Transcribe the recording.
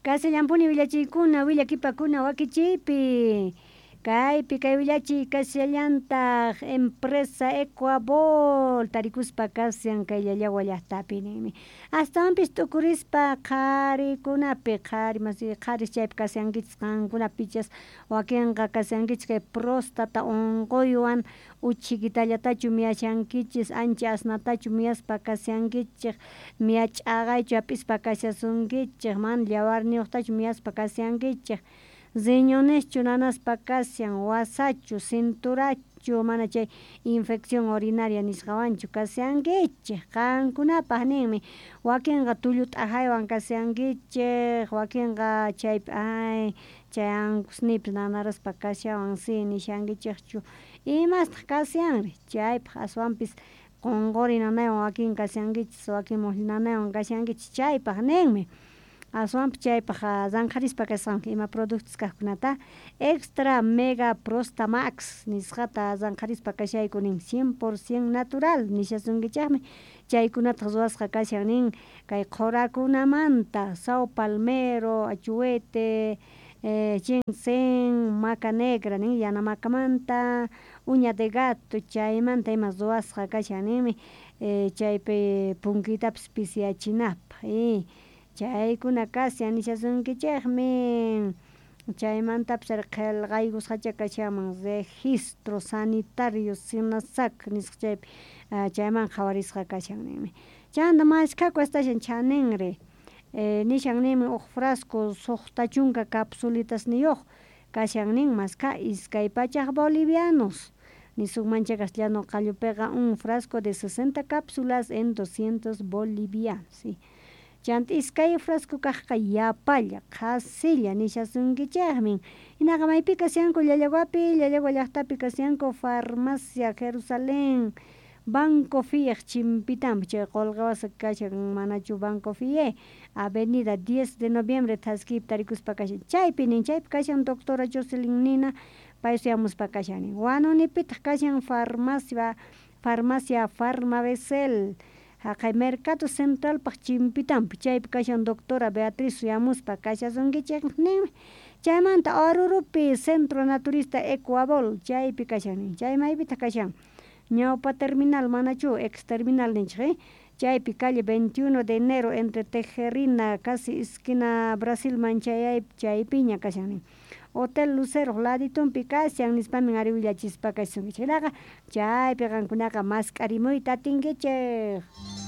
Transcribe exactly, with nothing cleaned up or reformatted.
Kashallampuni willachiykuna willakipakuna wakichiypi kaypi kay willachiy kashallantaj empresa Ecuabol tarikuspa kashan kay Llallagua llajtapi ninmi astawanpis t'ukurispa qharikunapi qhari masi qharis chaypi kashankichis qankunapichas wakinqa kashankichis kay prostata unquywan uchhikitallatachu miyashankichis ancha asnatachu miyaspa kashankichik miya ch'aqaychu hap'ispa kashasunkichik mana llawarniyuqtachu miyaspa kashankichik riñoneschu nanaspa kashan wasachu cinturachu mana chay infección urinaria nisqawanchu kashankichik qankunapaq ninmi wakinqa tullu t'ajaywan kashankichik wakinqa chaypi ay chay ankusniypis nanaraspa kashawan si nishankichikchu imastaq kashanri chaypaq aswanpis qonqori nanaywan wakin kashankichis wakin muqllu nanaywan kashankichis chaypaq ninmi aswanpis chaypaq ranqharispa kasqanku ima productos kaqkunata extra mega prostamax nisqata ranqharispa kashayku nin cien por cien natural nishasunkichikmi chaykunataq ruwasqa kashan nin kay qhurakunamanta saw palmero, achuete, eh, ginseng, maca negra nin yana macamanta, uña de gato chaymanta ima ruwasqa kashan ninmi eh, chaypi punkiytapis pisiyachinapaq y chaykuna kashan nishasunkichikmi chaymantapis ari qillqaykusqacha kashanman registro sanitario SENASAC nisqa chaypi chayman qhawarisqa kashan ninmi chanta mashkhaku astashan chaninri eh, nishan ninmi huk frasco suqta chunka capsulitasniyuq kashan nin maskha iskay pachak bolivianos nisunman chay castellano qallupiqa un frasco de sesenta cápsulas en doscientos bolivianos sí. Chanta iskay frasco kaqqa yapalla qhasilla nishasunkichikmin hinaqa maypi kashanku Llallaguapi Llallagua llaqtapi kashanku farmacia Jerusalén Banco Fiej chimpitanpi chay qullqi wasi kashan manachu Banco Fie avenida diez de noviembre thaskiypi tarikuspa kashan chaypi nin chaypi kashan doctora Jocelyn Nina pay suyamuspa kashan nin Huanunipitaq kashan farmacia farmacia Farmabecel haqay mercado centralpaq chimpitanpi chaypi kashan doctora Beatriz suyamuspa kashasunkichik ninmi chaymanta Oruropi centro naturista Ecuabol chaypi kashan nin chay maypitaq kashan ñawpa terminal manachu ex terminal ninchik eh chaypi calle veintiuno de enero entre Tejerina casi esquina Brasilman chayaypi chaypiña kashan nin Hotel Lucero laditunpi kashan nispamin ari willachispa kashasunkichik hinaqa chaypi qankunaqa mask'arimuyta atinkichik.